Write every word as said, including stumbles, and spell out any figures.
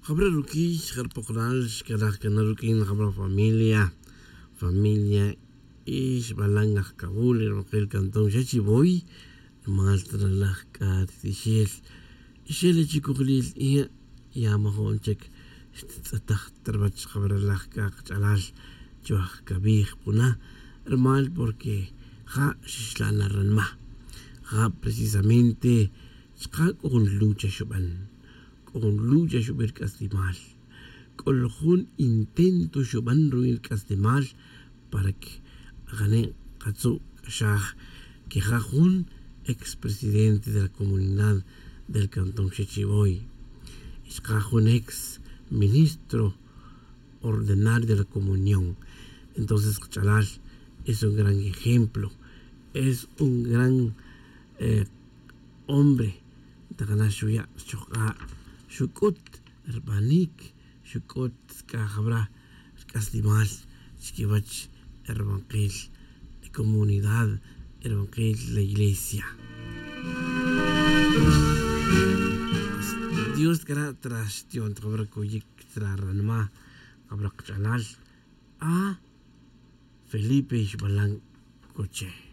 Jabra ruquiy jarpoklal xcalaj cana ruq'uin jabra familia familia, y xbalan ajcabul ri rumakil cantón xa chi voy. Mal tralaj c'a ri tixel y xel chicojlil, y ya majo'n chic xtitz'ataj ta ruwach jabra laj c'a kach'alal chuwaj cawij puna. Rumal porque ja' xixla' na ranma, ja' precisamente chka' c'o jun lucha xuban, c'o jun lucha xubi ri c'aslimal, c'o jun intento xuban ruwi' ri c'aslimal para que ajane' katzu' k'axaj que ja' jun ex presidente de la comunidad del cantón Xechivoy y chka' jun ex ministro ordenario de la comunión. Entonces kach'alal es un gran ejemplo, es un gran eh, hombre. Ntakana xuya' xchojk'a' xuc'ut rbanic, xuc'ut c'a jabra ri c'aslimal chiquiwach ri rubankil comunidad, ri rubankil la iglesia. Dios cara' tra xtiyon ta jabra coyic tra ranma jabra kach'alal. A Felipe xbalan coche.